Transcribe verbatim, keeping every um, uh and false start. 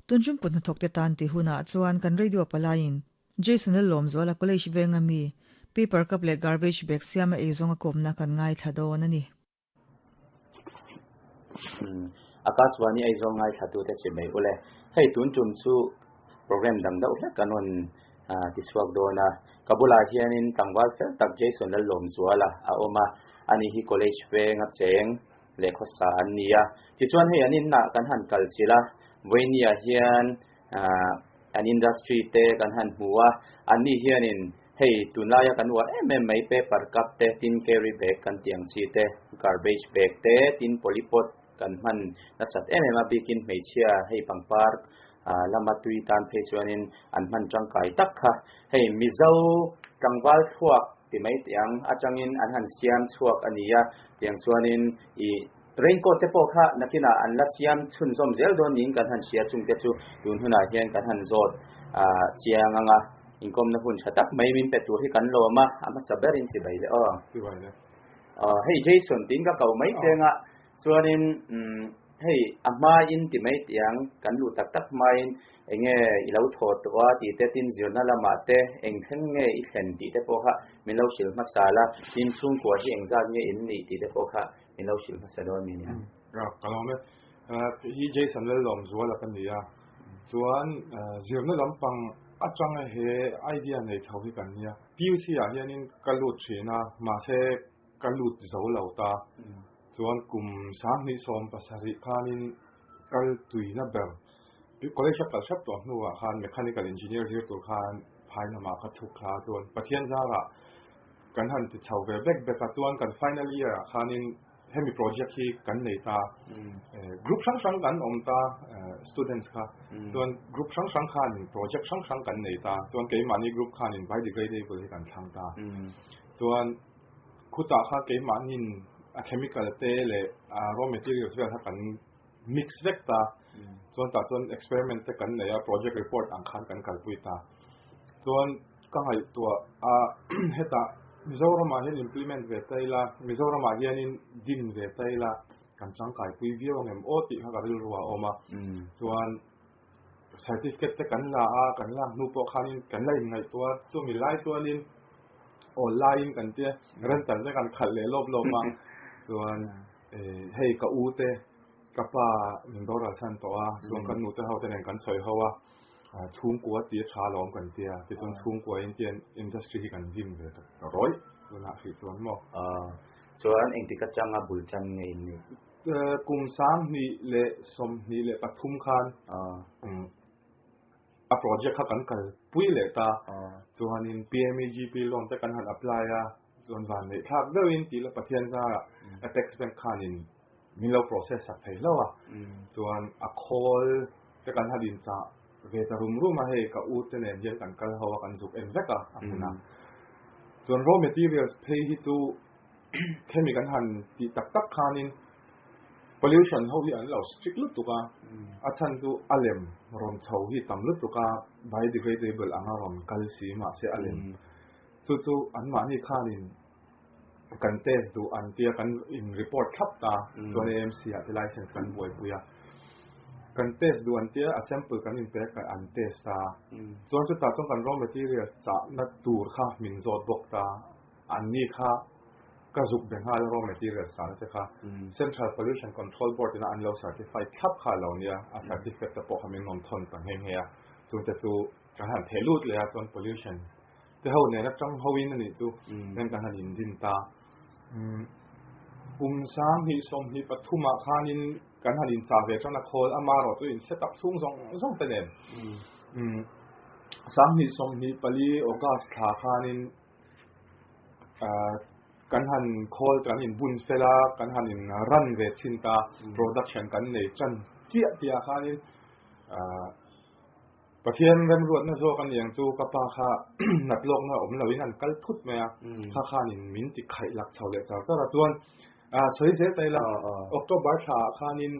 Tunjum kut hnathawk te tan ti hunah chuan kan radio palaiin Jason Lawmzuala College venga mi paper cup leh garbage bag siama eizawng a kawmna kan ngaithla dawn a ni. Akashvani Aizawl ngaithla tu te chibai ule. Hei tun tum chu program dang deuh hlek kan rawn tichhuak dawn a. Ka bulah hianin tlangval fel tak Jason Lawmzuala a awm a. Ani hi college venga cheng leh khawsa an ni a. Tichuan hei an inah kan han kal chilh a. Vawinia hian an industry te kan han hmu a. Anni hianin hei tunlaia kan uar em em mai paper cup te, tin carry bag kan tih ang chi te, garbage bag te, tin polypot kan hman nasat em em a bikin hmeichhia hei pangpar lama tui tan phei chuanin an hman tangkai tak kha. Hei Mizo tlangval thluak ti mai tiang atangin an han siam chhuak a ni a. Tiang chuanin i raincoat te pawh kha nakinah an la siam chhunzawm zel dawn niin kan han hria chung te chu tun hunah hian kan han zawt chiang anga inkawmna hun tha tak mai min pe tur hi kan lawm a. A hmasa berin chibai le aw. Hei Jason tin ka ko mai chenga chuanin hei a hmain ti mai tiang kan lu tak tak hmain enge i lo thaw tawh a ti te tin zirna lamah te eng thleng nge i thlen tih te pawh kha min lo hrilh hmasa la. Tin chhungkua hi eng zat nge in nih tih te pawh kha min lo hrilh hmasa dawn mi nia. Ka lawm e. Hi Jason Lawmzuala ka ni a. Chuan zirna lampang atanga he idea nei tho hi kan nia. P U C ah hianin ka lut thin a, mahse ka lut zo lo ta. Chuan kum sanghnih sawm pasarih khanin kal tuina ber college a kal hrep tawh hnuah khan mechanical engineer zir tur khan phai lamah ka chhuk thla. Chuan Pathian zarah kan han ti chho ve bek bek a. Chuan kan final year ah khanin hemi project hi kan nei ta. Group hrang hrang kan awm ta, students kha. Chuan group hrang hrang khanin project hrang hrang kan nei ta. Chuan keimahni group khanin biodegradable hi kan thlang ta. Chuan khutah kha keimahnin a chemical te leh raw materials vel kha kan mix vek ta. Chuan tah chuan experiment te kan nei a, project report ang khan kan kalpui ta. Chuan ka ngaihtuah a hetah Mizoramah hian implement ve taila, Mizoramah hianin din ve taila kan tangkai pui viau angem aw tih kha ka rilru a awm a. Chuan certificate te kan la a, kan lak hnu pawh khanin kan la inngaihtuah. Chumi lai chuanin online kan tia rental te kan khalh leh lawp lawp a. Chuan hei ka u te ka pa min boral san tawh a. Chuan kan nu te ho te nen kan sawi ho a. Chhungkua ti tha lawm kan tia. Tichuan chhungkua in tian industry hi kan din ve ta rawi tunah hrih chuan maw. Chuan engtik atanga bul chan nge in ni? Kum sanghnih leh sawmhnih leh pathum khan a project kha kan kal pui leh ta. Chuanin P M E G P loan te kan han apply a. Chuan van neih thlak deuhin ti la Pathian zarah Apex Bank khanin min lo process sak thei hlo a. Chuan a khawl te kan han in chah ve ta rum rum a. Hei ka u te nen hian kan kal ho a, kan zuk en vek a a hmun a. Chuan raw materials phei hi chu khemi kan han ti tak tak khanin pollution ho hi an lo strict lutuk a. A chhan chu a lem rawn chho hi tam lutuk a, biodegradable anga rawn kal si mahse a lem chu chu an mahni khanin kan test duh an tia, kan in report thlap ta. Chuan A M C ah te license kan buaipui a, kan test duh an tia, a sample kan in pek an test ta. Chuan chutah chuan kan raw materials chah na tur kha min zawt bawk ta. An ni kha ka zuk be nghal raw materials chah na te kha Central Pollution Control Board ina an lo certify thlap kha lo nia. A certificate te pawh kha min rawn thawn ta nghe nghe a. Chung te chu kan han theh lut leh a. Chuan pollution te ho nen atang hoin ani chu nen kan han in din ta. Kum sanghnih sawmhnih pathumah khanin kan han in cha ve tan a khawl ama ro chu in set up chhung zawng zawng te nen. Sanghnih sawmhnih pali August thla khanin kan han khawl kan in bun fela, kan han in ran ve chin ta. Production kan nei chan chiah tia khanin Pathian remruat na zawk an yang chu ka pa kha nat lawk na awm loin an kal thut mai a. Kha khanin min ti khaih lak chho leh char char a. Chuan soi zel taila October thla khanin